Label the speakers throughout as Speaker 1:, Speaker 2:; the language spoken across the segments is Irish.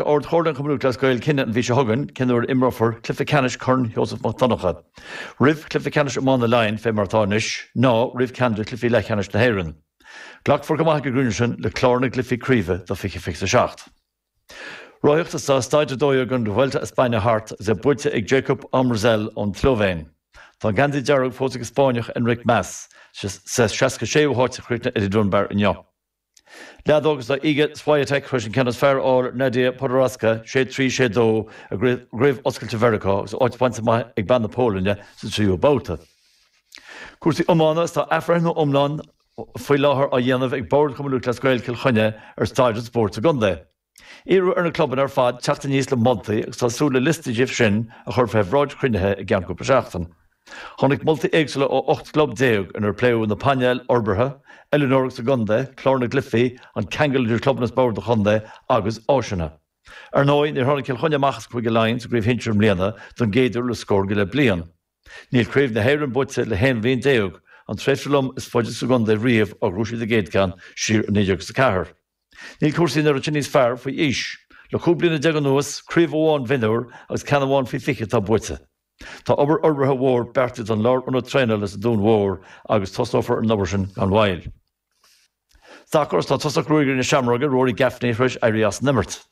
Speaker 1: Ard Chomhairle an Chumainn Lúthchleas Gael cinneadh an mhí seo chugainn cén uair a imreofar cluiche ceannais Chorn Sheosamh Mac Donncha. Roimh chluiche ceannais iomána Laighean, fé mar atá anois, ná roimh ceann de chluichí leathcheannais na hÉireann. Glacfar chomh maith ag an gcruinniú sin le clár na gcluichí craoibhe do 2027. Rothaíocht Is tá Staid 12 den Vuelta a España thart agus é buaite ag Jakub Omerzel ón tSlóivéin. Tá an geansaí dearg fós ag an Spáinneach Enric Mas. Sa 66ú háit a chríochnaigh Eddie Dunbar inniu. Leadóg Is tá Iga Swiatek tar éis an ceann is fearr a fháil ar Nadia Podoroska, 6-3, 6-2, i gCraobh Oscailte Mheiriceá agus áit bainte amach ag bean na Polainne sa tríú babhta. Cúrsaí iomána Is tá athbhreithniú iomlán faoi láthair á dhéanamh ag Bord Chumann Lúthchleas Gael Chill Chainnigh ar staid an spóirt sa gcontae. Iarradh ar na clubanna ar fad teacht aníos le moltaí agus tá súil le liosta díobh sin a chur fé bhráid chruinnithe i gceann cúpla seachtain. Tháinig moltaí éagsúla ó 18 gclub inar pléadh na painéil fhorbartha, oiliúnóireacht sa gcontae, clár na gcluichí, an ceangal idir clubanna is bord an chontae agus áiseanna. Ar ndóigh, níor tháinig Cill Chainnigh amach as Cúige Laighean sa gcraobh shinsir i mbliana don gcéad uair le scór go leith bliain. Níl Craobh na hÉireann buaite le haon bhliain déag, an tréimhse lom is faide sa gcontae riamh ó ghnóthaigh siad a gcéad ceann siar i 1904. Níl cúrsaí an oiread sin níos fearr faoi aois. Le 15 bliana anuas, craobh amháin mhionúir agus ceann amháin faoi 20 atá buaite. Tá obair fhorbartha mhór beartaithe don lárionad traenála sa Dún Mhór agus tosnófar ar an obair sin gan mhoill. Sacar Tá tosach Ruagairí na Seamróige, Rory Gaffney, tar éis éirí as an imirt.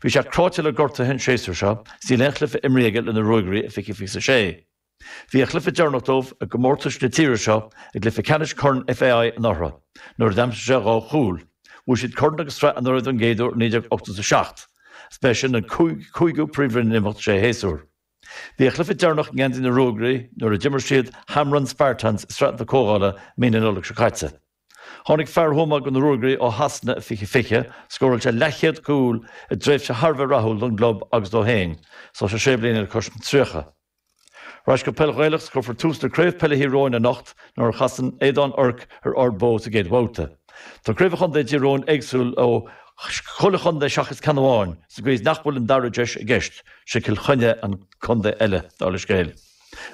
Speaker 1: Bhí sé cráite le gortuithe an séasúr seo is níl aon chluiche imrithe aige le na Ruagairí i 2026. Bhí a chluiche deireanach dóibh i gcomórtais na tíre seo i gcluiche ceannais Chorn FAI anuraidh, nuair a d'aimsigh sé 2 chúl. Bhuaigh siad corn agus sraith anuraidh don gcéad uair i 1987. Is b'é sin an cúigiú Príomhroinn in imeacht sé shéasúr. Bhí a chluiche deireanach i ngeansaí na Ruagairí nuair a d'imir siad Hamrun Spartans i Sraith na Comhdhála mí na Nollag seo caite. Tháinig fear Thuama go na Ruagairí ó Shasana i 2020, scóráil sé leathchéad cúl i dtréimhse thar a bheith rathúil don gclub agus dó féin, is tá sé sé bliana le cois an 30. Ar ais go peil Ghaelach 's cuirfear tús le Craobh Peile Thír Eoghain anocht nuair a chasann Aodán Oirc ar Ard Bó sa gcéad bhabhta. Tá Craobh an Chontae i dTír Eoghain éagsúil ó chuile chontae seachas ceann amháin, sa gcaoi is nach bhfuil an dara deis i gceist, sé Cill Chainnigh an contae eile, dála scéil.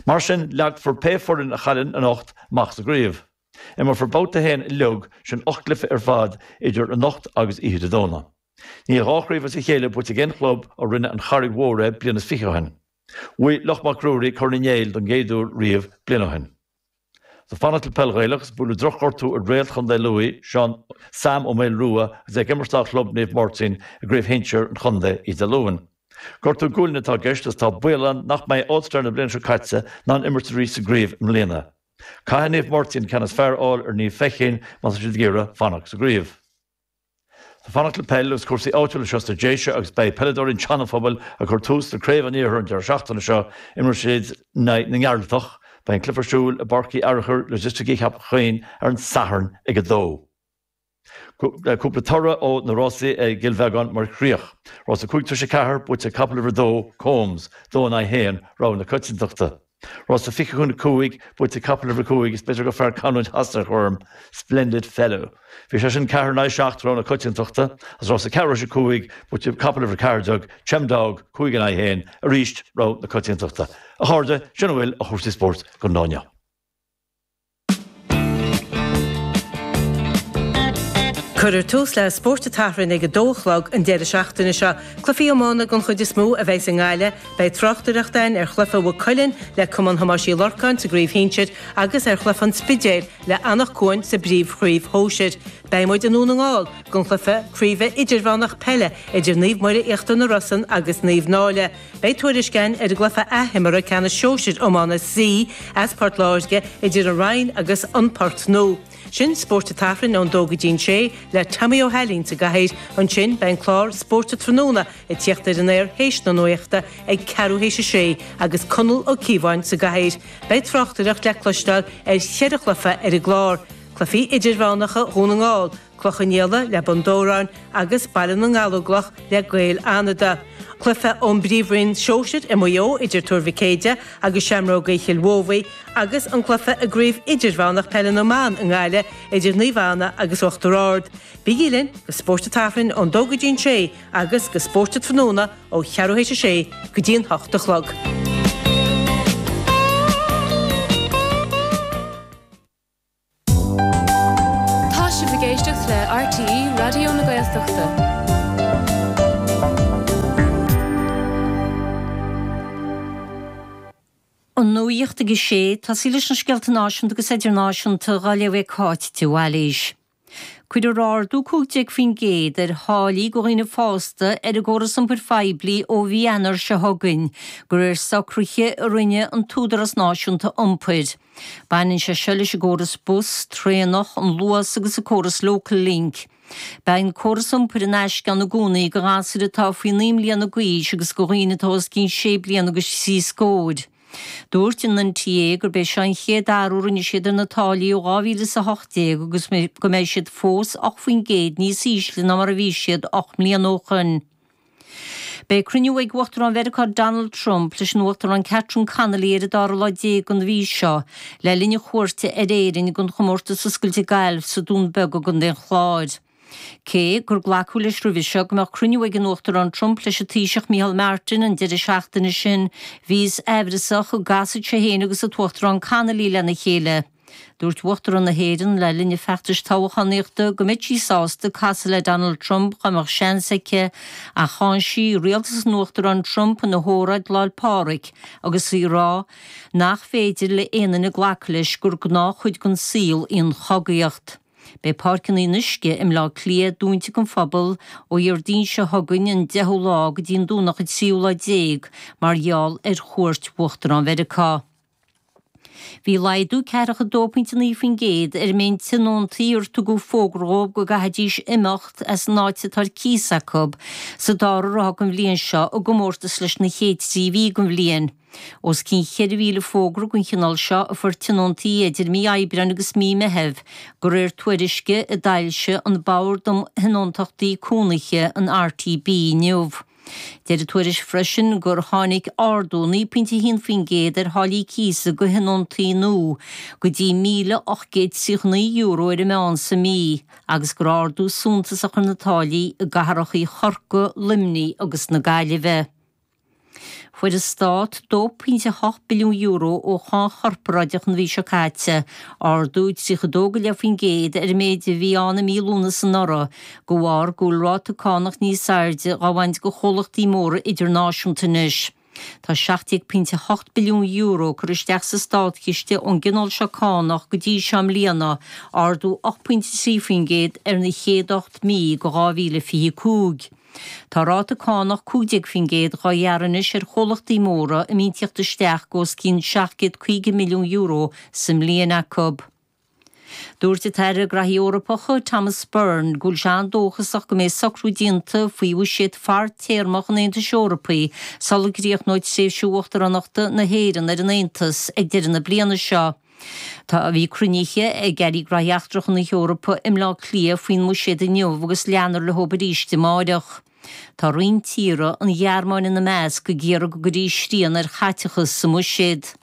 Speaker 1: Mar sin, leagfar pé foireann a chailleann anocht amach sa gcraobh. Imreofar babhta a haon uilig, sin 8 gcluiche ar fad, idir anocht agus oíche Dé Domhnaigh. Níl 2 chraobh as a chéile buaite ag aon chlub ó rinne an Charraig Mhór é bliain is fiche ó shin. Bhuaigh Loch Mac Ruairí Corn Uí Néill don gcéad uair riamh bliain ó shin. Ag fanacht le peil Ghaelach is buaileadh drochghortú ar réalt chontae Lú, Seán Sam Ó Maolrua agus é ag imirt dá chlub Naomh Máirtín i gcraobh shinsir an chontae oíche Dé Luain. Gortú gualainne atá i gceist agus tá baol ann nach mbeidh All-Star na bliana seo caite in ann imirt arís sa gcraobh i mbliana. Caithfidh Naomh Máirtín an ceann is fearr a fháil ar Naomh Feichín má tá siad ag iarraidh fanacht sa gcraobh. Ag fanacht le peil agus cúrsaí áitiúla anseo sna Déise agus beidh peileadóirí an tSeanaphobail ag cur tús le Craobh an Iarthair an deireadh seachtaine seo. Imreoidh siad in aghaidh na nGearaltach. Beidh an cluiche ar siúl i bPáirc Uí Fhearchair, Logisticí Cheapach Choinn ar an Satharn ag 2. Cúpla toradh ó na rásaí i gCill Bheagáin mar chríoch. Rás 5 tar éis 4, buaite ag capall uimhir 2, Combs, 2 in aghaidh 1, rogha na coitiantachta. Rás 20 chun 5, buaite ag capall uimhir 5, is b'fhéidir gur fearr canúint Shasana a chur orm, Splendid Fellow. Bhí sé sin 4 in aghaidh 7, rogha na coitiantachta, agus rás 4 tar éis 5, buaite ag capall uimhir 14, Chemdog, 5 in aghaidh 1, arís rogha na coitiantachta. A chairde, sin a bhfuil ó chúrsaí spóirt don lá inniu.
Speaker 2: Cuirfear tús le Spórt an tSathairn ag a dó a chlog an deireadh seachtaine seo. Cluichí iomána den chuid is mó a bheas i nGaillimh. Beidh tráchtaireacht againn ar chluiche Mhaigh Cuilinn le Cumann Thomáis Uí Lorcáin sa gcraobh shinsir agus ar chluiche an Spidéil le Anach Cuain sa bpríomhchraobh shóisir. Beidh muid i nDún na nGall don chluiche craoibhe idirmheánach peile idir Naomh Muire Íochtar na Rosann agus Naomh Náille. Beidh tuairisc againn ar an gcluiche athimeartha ceannais sóisir iomána C as Port Láirge idir an Rinn agus an Port Nua. Sin Spórt an tSathairn ón dó go dtí'n sé le Tommy Ó hAilín sa gcathaoir. Ansin beidh an clár Spórt an Tráthnóna ag tíocht ar an aer théis na nuachta ag ceathrú théis a sé agus Conall Ó Cíobháin sa gcathaoir. Beidh tráchtaireacht le cloisteáil ar cheithre chluiche ar an gclár, cluichí idirmheánacha Dhún na nGall, Cloich Cheann Fhaola le Bun Dobhráin agus Baile na nGallóglach le Gaeil Fhánada. Cluiche ón bPríomhroinn Sóisir i Maigh Eo idir Tuar Mhic Éide agus Seamrógaí Chill Mhóbhaí agus an cluiche i gCraobh Idirmheánach Peile na mBan i nGaillimh idir Naomh Anna agus Uachtar Ard. Bígí linn go Spórt an tSathairn ón dó go dtí'n sé agus go Spórt an Tráthnóna ó cheathrú théis a sé go dtí an hocht a chlog.
Speaker 3: Tá sibh ag éisteacht le RTÉ Raidió na Gaeltachta. An nuacht ag a sé, tosaí leis na scéalta náisiúnta agus idirnáisiúnta dhá léamh ag Cáit de Bhailís. Cuirfear ardú 15% ar tháillí do dhaoine fásta ar an gcóras iompair phoiblí ó mhí Eanáir seo chugainn, de réir socruithe a rinne an tÚdarás Náisiúnta Iompair. Baineann sé seo leis an gcóras bus, traenach, an Luas agus an córas Local Link. Beidh an córas iompair in aisce ann i gcónaí do ghasúir atá faoi 9 mbliana d'aois agus do dhaoine atá os cionn sé bliana agus trí scóir. Dúirt an NTA gurb é seo an chéad athrú a rinne siad ar na táillí ó 2018 agus go mbeidh siad fós 8% níos ísle ná mar a bhí siad 8 mbliana ó shoin. Beidh cruinniú ag Uachtarán Mheiriceá Donald Trump leis an Uachtarán Catherine Connolly ar an dara lá déag den mhí seo le linn a chuairte ar Éirinn don Chomórtas Oscailte Gailf sa Dún Beag i gContae an Chláir. Cé gur glacadh leis roimhe seo go mbeadh cruinniú ag an Uachtarán Trump leis an Taoiseach Micheál Martin an deireadh seachtaine sin, bhíothas aimhreasach an gcasfadh sé féin agus an tUachtarán Connolly lena chéile. Dúirt Uachtarán na hÉireann le linn a feachtais toghchánaíochta go mbeadh sí sásta casadh le Donald Trump dá mbeadh seans aici, ach cháin sí rialtas an Uachtaráin Trump ina hóráid Lá 'le Pádraig agus í ag rá nach féidir le aon duine glacadh leis gur gnáthchuid den saol í an chogaíocht. Beidh Páirceanna an Fhionnuisce i mBleá Cliath dúnta don phobal ó Dhéardaoin seo chugainn an 10ú lá go dtí an Domhnach an tríú lá déag mar gheall ar chuairt Uachtarán Mheiriceá. Bhí laghdú ceathracha 2.9% ar an méid tionóntaí ar tugadh fógra dhóibh go gcaithfidís imeacht as an áit atá ar cíos acu sa dara ráithe den bhliain seo i gcomórtas leis na chéad trí mhí den bhliain. Os cionn 4,000 fógra den chineál seo a fuair tionóntaí idir mí Aibreáin agus mí Meithimh, de réir tuairisce a d'fhoilsigh an Bord um Thionóntachtaí Cónaithe, an RTB, inniu. Deir an tuairisc freisin gur tháinig ardú 9.1% ar tháillí cíosa do thionóntaí nua go dtí €1,839 ar an meán sa mí agus go raibh ardú suntasach ar na táillí i gcathracha Chorcaí, Luimnigh agus na Gaillimhe. Fuair an Stát €2.8 billiún ó cháin chorparáideach an mhí seo caite, ardú 32.5% ar an méid a bhí ann i mí Lúnasa anuraidh, de bharr go bhfuil ráta cánach níos airde dhá bhaint de chomhlachtaí móra idirnáisiúnta anois. Tá €17.8 billiún curtha isteach sa státchiste ón gcineál seo cánach go dtí seo i mbliana, ardú 8.3% ar na chéad 8 mí de 2025. Tá ráta cánach 15% dhá ghearradh anois ar chomhlachtaí móra a mbíonn tíocht isteach de os cionn €750 milliún sa mbliain acu. Dúirt an tAire Graithí Eorpacha, Thomas Byrne, go bhfuil sé an-dóchasach go mbeidh socrú déanta faoi bhuiséad fadtéarmach an Aontais Eorpaigh sula gcríochnóidh tréimhse uachtaránachta na hÉireann ar an Aontas ag deireadh na bliana seo. Tá bhí cruinnithe ag Airí Graithí Eachtracha na hEorpa i mBleá Cliath faoin mbuiséad inniu agus leanfar le hobair arís amáireach. Tá roinnt tíortha, an Ghearmáin ina measc, ag iarraidh go gcuirfí srian ar chaiteachas sa mbuiséad.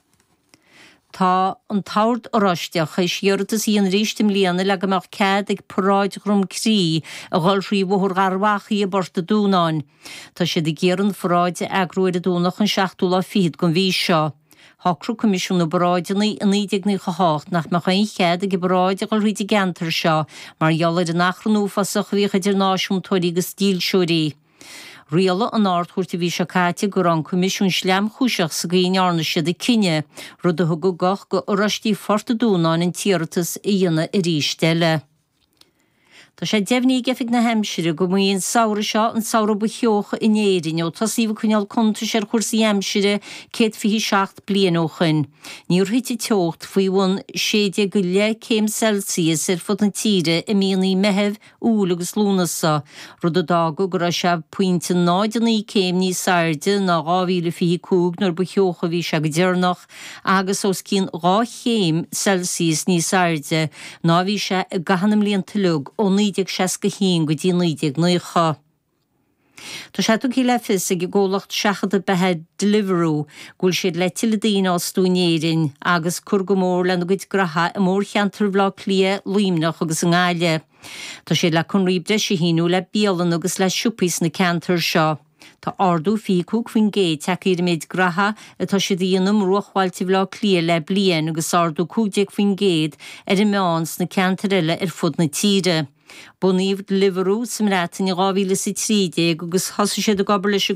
Speaker 3: Tá an tOrd Oráisteach théis iarratas a dhéanamh arís i mbliana le go mbeadh cead ag paráid Dhroim Crí a dhul thrí Bhóthar Gharbhachaidh i bPort an Dúnáin. Tá siad ag iarraidh an pharáid a eagrú ar an Domhnach an seachtú lá fichead den mhí seo. Shocraigh Coimisiún na bParáideanna i 1998 nach mbeadh aon chead ag an bparáid a dhul thríd an gceantar seo mar gheall ar an achrann uafásach a bhíodh idir náisiúntóirí agus dílseoirí. Rialaigh an Ard-Chúirt an mhí seo caite go raibh an Coimisiún sleamchúiseach sa gcaoi a ndearna siad a cinneadh, rud a thug an guth go Oráistigh Phort an Dúnáin an t-iarratas a dhéanamh arís eile. Tá sé deimhnithe ag Oifig na hAimsire go mba é an samhradh seo an samhradh ba theocha in Éirinn ó tosaíodh ag coinneáil cuntais ar chúrsaí aimsire 127 bliain ó shoin. Níor thit an teocht faoi bhun 16 go leith céim Celsius ar fud na tíre i míonna Meithimh, Iúil agus Lúnasa, rud a d'fhág go raibh sé pointe 0.9 céim níos airde ná 2025 nuair ba theocha a bhí sé go deireanach. agus os cionn 2 chéim Celsius níos airde ná a bhí sé i gcaitheamh na mblianta uilig ó 1961 go dtí 1990. Tá sé tugtha le fios ag an gcomhlacht seachadta beatha Deliveroo go bhfuil siad le tuilleadh daoine a fhostú in Éirinn agus cur go mór lena gcuid graithe i mórcheantar Bhaile Átha Cliath, Luimneach agus i nGaillimh. Tá siad le conraí breise a shíniú le bialanna agus le siopaí sna ceantair seo. Tá ardú 25% tagtha ar an méid graithe atá siad a dhéanamh i mbruachbhailte Bhaile Átha Cliath le bliain agus ardú 15% ar an meán sna ceantair eile ar fud na tíre. Bunaíodh Deliveroo sa mBreatain in 2013 agus thosaigh siad ag obair leis an.